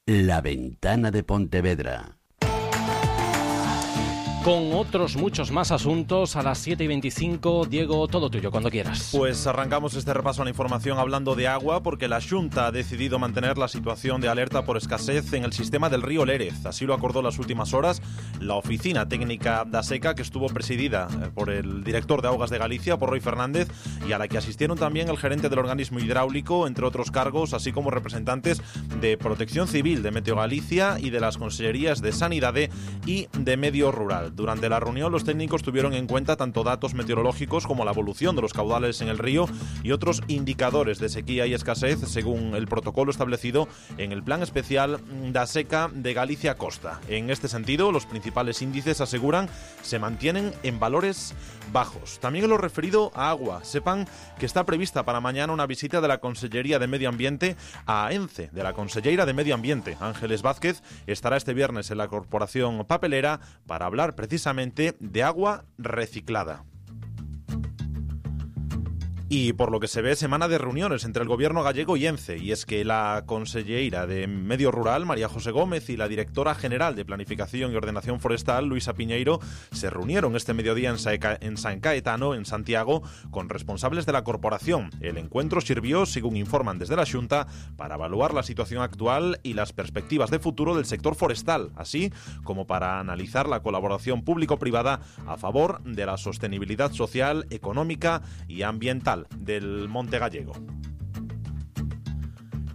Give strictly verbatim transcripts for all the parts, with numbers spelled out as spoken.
La Ventana de Pontevedra. Con otros muchos más asuntos a las siete y veinticinco. Diego, todo tuyo, cuando quieras. Pues arrancamos este repaso a la información hablando de agua, porque la Xunta ha decidido mantener la situación de alerta por escasez en el sistema del río Lérez. Así lo acordó en las últimas horas la Oficina Técnica da Seca, que estuvo presidida por el director de Augas de Galicia, por Roy Fernández, y a la que asistieron también el gerente del organismo hidráulico, entre otros cargos, así como representantes de Protección Civil, de Meteo Galicia y de las consellerías de Sanidade y de Medio Rural. Durante la reunión, los técnicos tuvieron en cuenta tanto datos meteorológicos como la evolución de los caudales en el río y otros indicadores de sequía y escasez, según el protocolo establecido en el Plan Especial da Seca de Galicia Costa. En este sentido, los principales índices, aseguran, se mantienen en valores bajos. También en lo referido a agua, sepan que está prevista para mañana una visita de la Consellería de Medio Ambiente a ENCE, de la Conselleira de Medio Ambiente. Ángeles Vázquez estará este viernes en la Corporación Papelera para hablar precisamente de agua reciclada. Y por lo que se ve, semana de reuniones entre el gobierno gallego y ENCE, y es que la conselleira de Medio Rural, María José Gómez, y la directora general de Planificación y Ordenación Forestal, Luisa Piñeiro, se reunieron este mediodía en, Saeca, en San Caetano, en Santiago, con responsables de la corporación. El encuentro sirvió, según informan desde la Xunta, para evaluar la situación actual y las perspectivas de futuro del sector forestal, así como para analizar la colaboración público-privada a favor de la sostenibilidad social, económica y ambiental del monte gallego.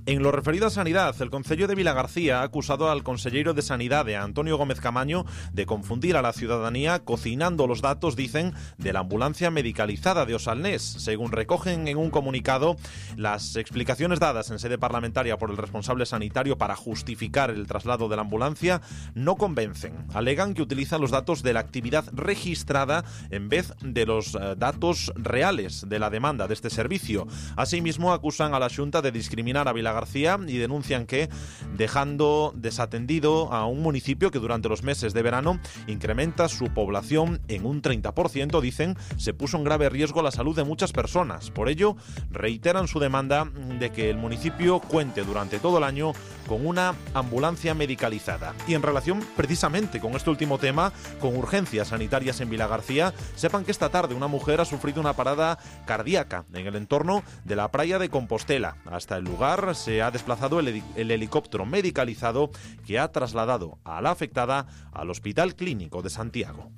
En lo referido a sanidad, el Concello de Vilagarcía ha acusado al conselleiro de Sanidade, Antonio Gómez Camaño, de confundir a la ciudadanía cocinando los datos, dicen, de la ambulancia medicalizada de Osalnés. Según recogen en un comunicado, las explicaciones dadas en sede parlamentaria por el responsable sanitario para justificar el traslado de la ambulancia no convencen. Alegan que utilizan los datos de la actividad registrada en vez de los eh, datos reales de la demanda de este servicio. Asimismo, acusan a la Xunta de discriminar a Vilagarcía García y denuncian que, dejando desatendido a un municipio que durante los meses de verano incrementa su población en un treinta por ciento, dicen, se puso en grave riesgo la salud de muchas personas. Por ello, reiteran su demanda de que el municipio cuente durante todo el año con una ambulancia medicalizada. Y en relación precisamente con este último tema, con urgencias sanitarias en Vilagarcía, sepan que esta tarde una mujer ha sufrido una parada cardíaca en el entorno de la playa de Compostela. Hasta el lugar se ha desplazado el, el helicóptero medicalizado que ha trasladado a la afectada al Hospital Clínico de Santiago.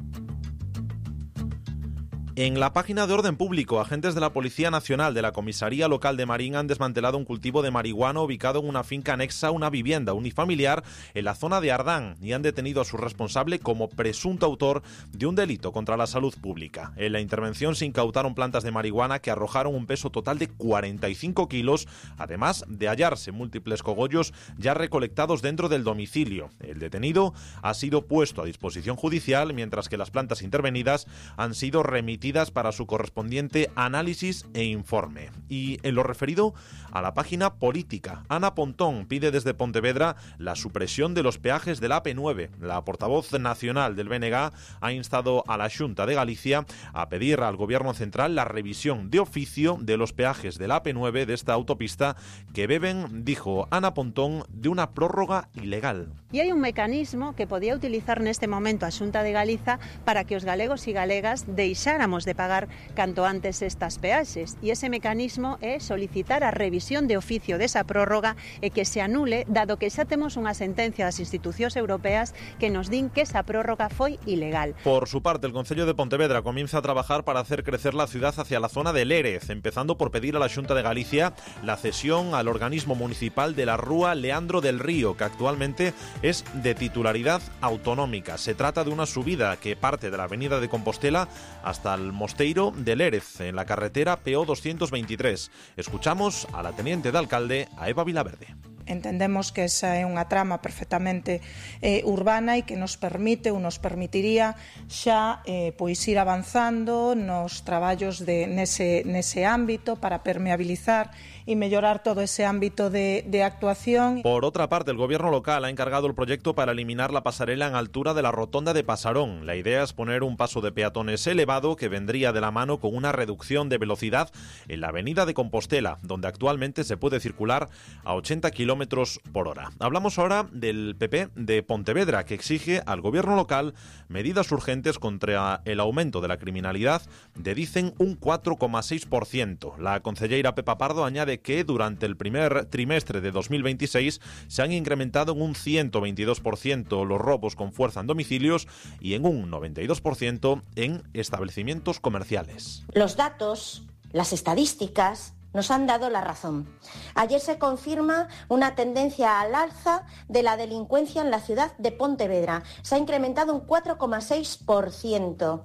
En la página de Orden Público, agentes de la Policía Nacional de la Comisaría Local de Marín han desmantelado un cultivo de marihuana ubicado en una finca anexa a una vivienda unifamiliar en la zona de Ardán y han detenido a su responsable como presunto autor de un delito contra la salud pública. En la intervención se incautaron plantas de marihuana que arrojaron un peso total de cuarenta y cinco kilos, además de hallarse múltiples cogollos ya recolectados dentro del domicilio. El detenido ha sido puesto a disposición judicial, mientras que las plantas intervenidas han sido remitidas para su correspondiente análisis e informe. Y en lo referido a la página política, Ana Pontón pide desde Pontevedra la supresión de los peajes de la A P nueve. La portavoz nacional del B N G ha instado a la Xunta de Galicia a pedir al Gobierno central la revisión de oficio de los peajes de la A P nueve de esta autopista que beben, dijo Ana Pontón, de una prórroga ilegal. E hai un mecanismo que podía utilizar neste momento a Xunta de Galiza para que os galegos e galegas deixáramos de pagar canto antes estas peaxes, e ese mecanismo é solicitar a revisión de oficio desa prórroga e que se anule, dado que xa temos unha sentencia das institucións europeas que nos din que esa prórroga foi ilegal. Por su parte, el Concello de Pontevedra comienza a trabajar para hacer crecer la ciudad hacia la zona de Lérez, empezando por pedir a la Xunta de Galicia la cesión al organismo municipal de la Rúa Leandro del Río, que actualmente es de titularidad autonómica. Se trata de una subida que parte de la avenida de Compostela hasta el Mosteiro de Lérez, en la carretera P O doscientos veintitrés. Escuchamos a la teniente de alcalde, a Eva Vilaverde. Entendemos que esa é unha trama perfectamente eh, urbana e que nos permite ou nos permitiría xa eh, pois ir avanzando nos traballos de nese, nese ámbito para permeabilizar e mellorar todo ese ámbito de, de actuación. Por otra parte, el gobierno local ha encargado el proyecto para eliminar la pasarela en altura de la rotonda de Pasarón. La idea es poner un paso de peatones elevado que vendría de la mano con una reducción de velocidad en la avenida de Compostela, donde actualmente se puede circular a ochenta kilómetros por hora. Hablamos ahora del P P de Pontevedra, que exige al gobierno local medidas urgentes contra el aumento de la criminalidad de, dicen, un cuatro coma seis por ciento. La concelleira Pepa Pardo añade que durante el primer trimestre de dos mil veintiséis se han incrementado en un ciento veintidós por ciento los robos con fuerza en domicilios y en un noventa y dos por ciento en establecimientos comerciales. Los datos, las estadísticas, nos han dado la razón. Ayer se confirma una tendencia al alza de la delincuencia en la ciudad de Pontevedra. Se ha incrementado un cuatro coma seis por ciento.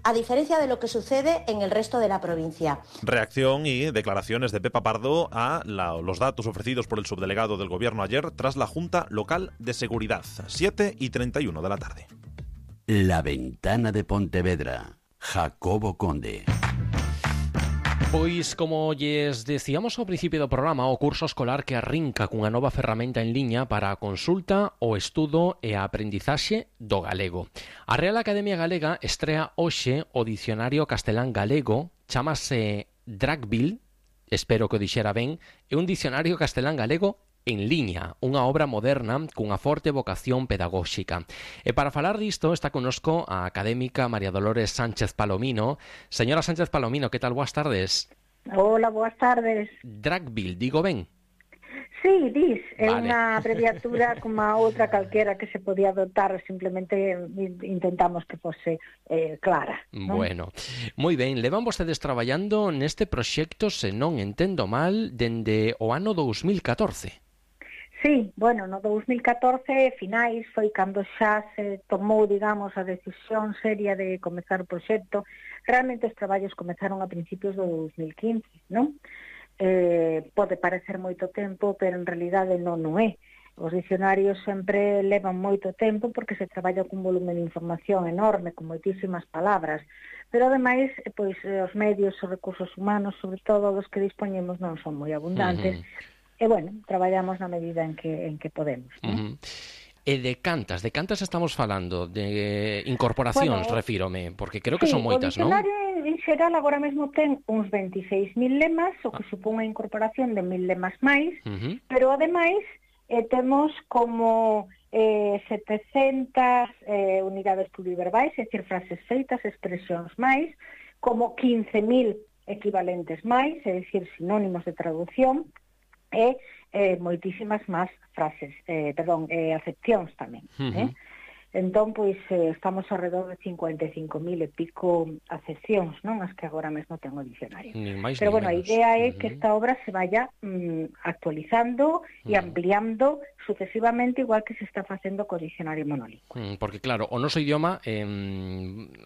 A diferencia de lo que sucede en el resto de la provincia. Reacción y declaraciones de Pepa Pardo a la, los datos ofrecidos por el subdelegado del Gobierno ayer tras la Junta Local de Seguridad, siete y treinta y uno de la tarde. La Ventana de Pontevedra, Jacobo Conde. Pois, como lles decíamos ao principio do programa, o curso escolar que arrinca cunha nova ferramenta en liña para a consulta, o estudo e a aprendizaxe do galego. A Real Academia Galega estrea hoxe o dicionario castelán galego, chamase Dragville, espero que o dixera ben, é un dicionario castelán galego en liña, unha obra moderna cunha forte vocación pedagóxica. E para falar disto está connosco a académica María Dolores Sánchez Palomino. Señora Sánchez Palomino, que tal? Boas tardes. Hola, boas tardes. Dragville, digo ben? Sí, dis, é vale. unha abreviatura como a outra calquera que se podía adoptar, simplemente intentamos que fose eh, clara, ¿no? Bueno, moi ben, levan vostedes traballando neste proxecto, se non entendo mal, dende o ano dous mil catorce. Sí, bueno, no dous mil catorce, finais, foi cando xa se tomou, digamos, a decisión seria de comezar o proxecto. Realmente os traballos comezaron a principios do dous mil quince, non? Eh, pode parecer moito tempo, pero en realidade non o é. Os dicionarios sempre levan moito tempo porque se traballa con un volumen de información enorme, con moitísimas palabras. Pero, ademais, pois, os medios, os recursos humanos, sobre todo os que dispoñemos, non son moi abundantes. Uh-huh. E, bueno, traballamos na medida en que en que podemos, ¿no? Uh-huh. E de cantas, de cantas estamos falando? De incorporacións, bueno, refírome, porque creo que sí, son moitas, non? O dicionario en xeral agora mesmo ten uns veintiséis mil lemas, o que ah. supón a incorporación de mil lemas máis, uh-huh. pero ademais eh, temos como eh, setecentas eh, unidades pluriverbais, é dicir, frases feitas, expresións máis, como quince mil equivalentes máis, é dicir, sinónimos de traducción, e eh, moitísimas máis frases, eh, perdón, eh, acepcións tamén. Uh-huh. Eh? Entón, pois, eh, estamos alrededor de cincuenta e cinco mil e pico acepcións, non? As que agora mesmo ten o dicionario. Máis, pero, bueno, menos. A idea é uh-huh. que esta obra se vaya mm, actualizando uh-huh. e ampliando sucesivamente, igual que se está facendo co dicionario monolingüe. Mm, porque, claro, o noso idioma eh,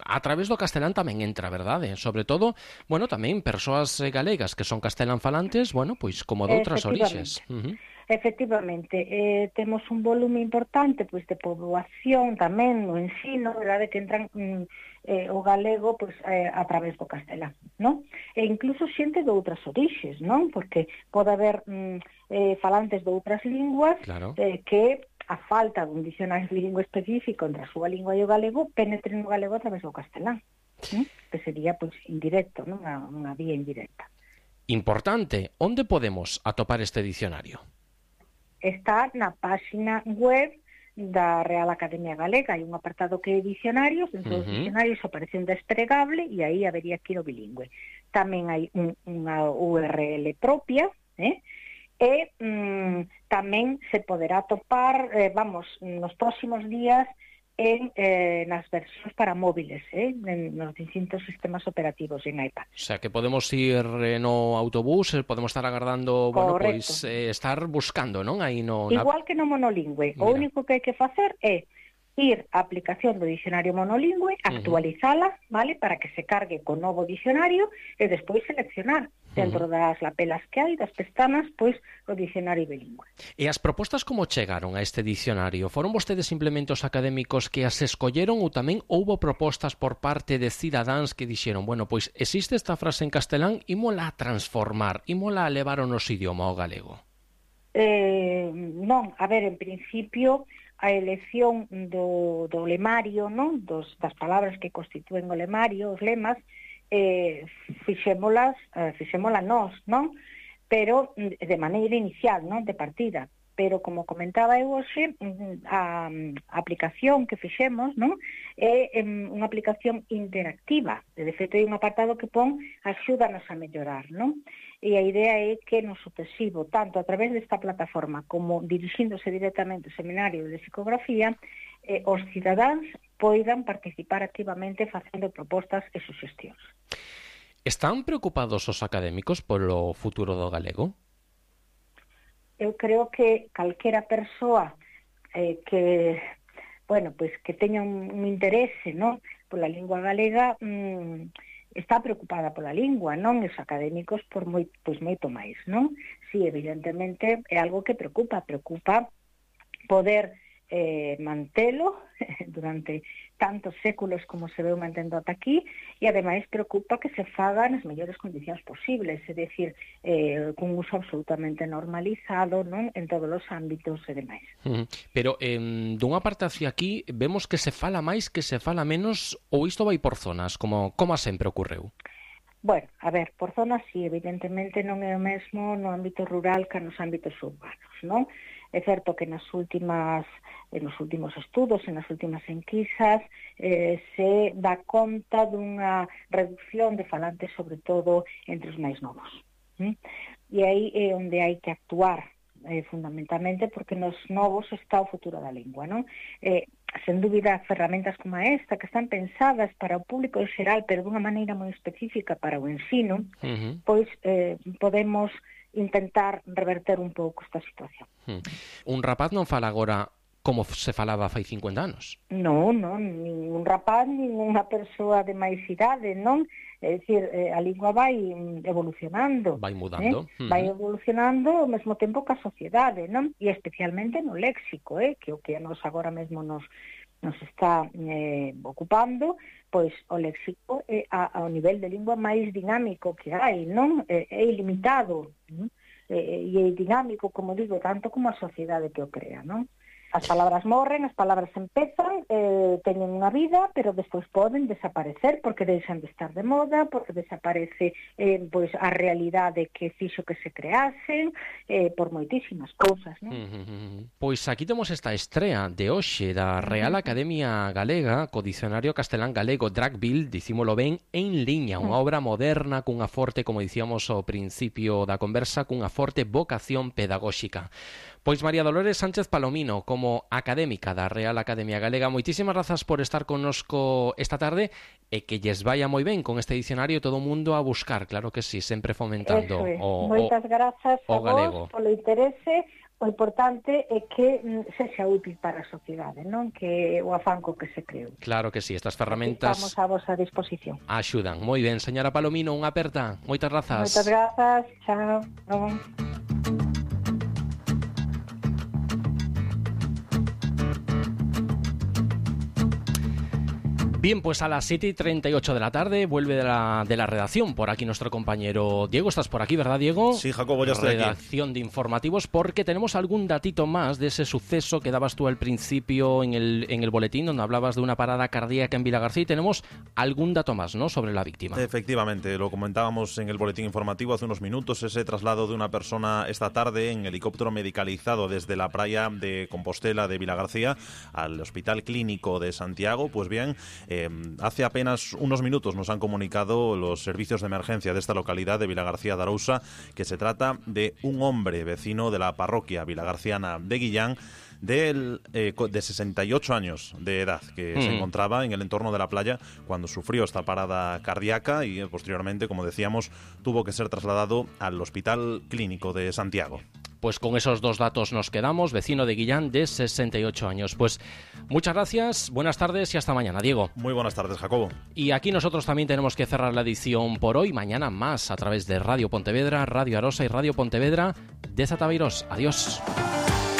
a través do castelán tamén entra, verdade? Sobre todo, bueno, tamén persoas galegas que son castelán falantes, bueno, pois como de outras orixes. Uh-huh. Efectivamente, eh, temos un volume importante pois de poboación tamén no ensino, verdade, que entran mm, eh, o galego pois eh, a través do castelán, non? E incluso xente de outras orixes, non? Porque pode haber mm, eh, falantes de outras linguas claro. eh, que a falta dun dicionario bilingüe específico entre a súa lingua e o galego penetren no galego a través do castelán, non? Que sería pois indirecto, non? Unha, unha vía indirecta. Importante, onde podemos atopar este dicionario? Está na páxina web da Real Academia Galega. Hai un apartado que é dicionarios, dentro uh-huh. dos dicionarios aparece un desplegable e aí habería que ir o bilingüe. Tamén hai un, unha U R L propia, eh? e mm, tamén se poderá atopar, eh, vamos, nos próximos días en eh, nas versións para móviles, eh, en nos distintos sistemas operativos en iPad. O sea, que podemos ir eh, no autobús, eh, podemos estar agardando, bueno, correcto. pois eh, estar buscando, non? Aí no igual na... que no monolingüe. Mira. O único que hai que facer é ir á aplicación do dicionario monolingüe, actualizala, vale, para que se cargue con novo dicionario e despois seleccionar dentro uh-huh. das lapelas que hai, das pestanas, pois o dicionario bilingüe. E as propostas como chegaron a este dicionario? Foron vostedes simplemente os académicos que as escolleron ou tamén houbo propostas por parte de cidadáns que dixeron, bueno, pois existe esta frase en castelán, ímola a transformar, ímola a levar o noso idioma ao galego? Eh, non, a ver, en principio a elección do, do lemario, non? Dos, das palabras que constitúen o lemario, os lemas, eh, fixémolas, eh, fixémola nós, non? Pero de maneira inicial, non? De partida. Pero, como comentaba eu hoxe, a, a aplicación que fixemos, non? É unha aplicación interactiva. De feito, hai un apartado que pon axúdanos a mellorar, non? E a idea é que no sucesivo, tanto a través desta plataforma como dirixíndose directamente ao seminario de psicografía, eh, os cidadáns poidan participar activamente facendo propostas e suxestións. Están preocupados os académicos polo futuro do galego? Eu creo que calquera persoa eh, que, bueno, pois que teña un, un interese, non, pola lingua galega, mmm, está preocupada pola lingua, non? Os académicos por moi, pois moito máis, non? Si, evidentemente, é algo que preocupa, preocupa poder eh, mantelo durante tantos séculos como se veu mantendo ata aquí, e ademais preocupa que se faga nas mellores condicións posibles, é dicir, eh, cun uso absolutamente normalizado, non, en todos os ámbitos e demais. Uh-huh. Pero, eh, dunha parte hacia aquí, vemos que se fala máis, que se fala menos, ou isto vai por zonas, como, como sempre ocorreu? Bueno, a ver, por zonas, sí, evidentemente non é o mesmo no ámbito rural que nos ámbitos urbanos, non? É certo que nas últimas, nos últimos estudos, nas últimas enquisas, eh, se dá conta dunha reducción de falantes, sobre todo entre os máis novos. ¿Mm? E aí é onde hai que actuar, eh, fundamentalmente, porque nos novos está o futuro da lingua, non? Eh, sen dúbida, ferramentas como esta, que están pensadas para o público en xeral, pero dunha maneira moi específica para o ensino, uh-huh. pois eh, podemos intentar reverter un pouco esta situación. Hmm. Un rapaz non fala agora como se falaba fai cincuenta anos? Non, non, ningún rapaz, ninguna persoa de máis idade, non? É dicir, a lingua vai evolucionando. Vai mudando. Eh? Uh-huh. Vai evolucionando ao mesmo tempo que a sociedade, non? E especialmente no léxico, eh? Que o que a nos agora mesmo nos nos está eh, ocupando, pois o léxico é a, ao nivel de lingua máis dinámico que hai, non? É, é ilimitado, non? E, e é dinámico, como digo, tanto como a sociedade que o crea, non? As palabras morren, as palabras empezan, eh, teñen unha vida, pero despois poden desaparecer porque deixan de estar de moda, porque desaparece eh, pois a realidade que fixo que se creasen, eh, por moitísimas cousas, non? Uh-huh. Pois aquí temos esta estrea de hoxe da Real Academia Galega co Dicionario Castelán Galego Dragville, dicímolo ben, en liña, unha obra moderna cunha forte, como dicíamos ao principio da conversa, cunha forte vocación pedagóxica. Pois María Dolores Sánchez Palomino, como académica da Real Academia Galega, moitísimas grazas por estar connosco esta tarde e que lles vaya moi ben con este dicionario, todo o mundo a buscar, claro que sí, sempre fomentando é. o, Moitas grazas o, a o galego. Vos polo interese. O importante é que sexa útil para a sociedade, non? Que o afanco que se creou. Claro que sí, estas ferramentas estamos a vosa disposición. Axudan. Moi ben, señora Palomino, unha aperta. Moitas grazas. Moitas grazas. Chao. Chao. Bien, pues a las siete y treinta y ocho de la tarde vuelve de la, de la redacción por aquí nuestro compañero Diego. Estás por aquí, ¿verdad, Diego? Sí, Jacobo, ya estoy aquí. Redacción de informativos, porque tenemos algún datito más de ese suceso que dabas tú al principio en el, en el boletín, donde hablabas de una parada cardíaca en Vilagarcía, y tenemos algún dato más, ¿no?, sobre la víctima. Efectivamente, lo comentábamos en el boletín informativo hace unos minutos, ese traslado de una persona esta tarde en helicóptero medicalizado desde la playa de Compostela de Vilagarcía al Hospital Clínico de Santiago. Pues bien, Eh, hace apenas unos minutos nos han comunicado los servicios de emergencia de esta localidad de Vilagarcía de Arousa que se trata de un hombre vecino de la parroquia vilagarciana de Guillán, de, eh, de sesenta y ocho años de edad, que mm. se encontraba en el entorno de la playa cuando sufrió esta parada cardíaca y eh, posteriormente, como decíamos, tuvo que ser trasladado al Hospital Clínico de Santiago. pues con esos dos datos nos quedamos. Vecino de Guillán, de sesenta y ocho años. Pues muchas gracias, buenas tardes y hasta mañana, Diego. Muy buenas tardes, Jacobo. Y aquí nosotros también tenemos que cerrar la edición por hoy. Mañana más a través de Radio Pontevedra, Radio Arosa y Radio Pontevedra de Zataviros. Adiós.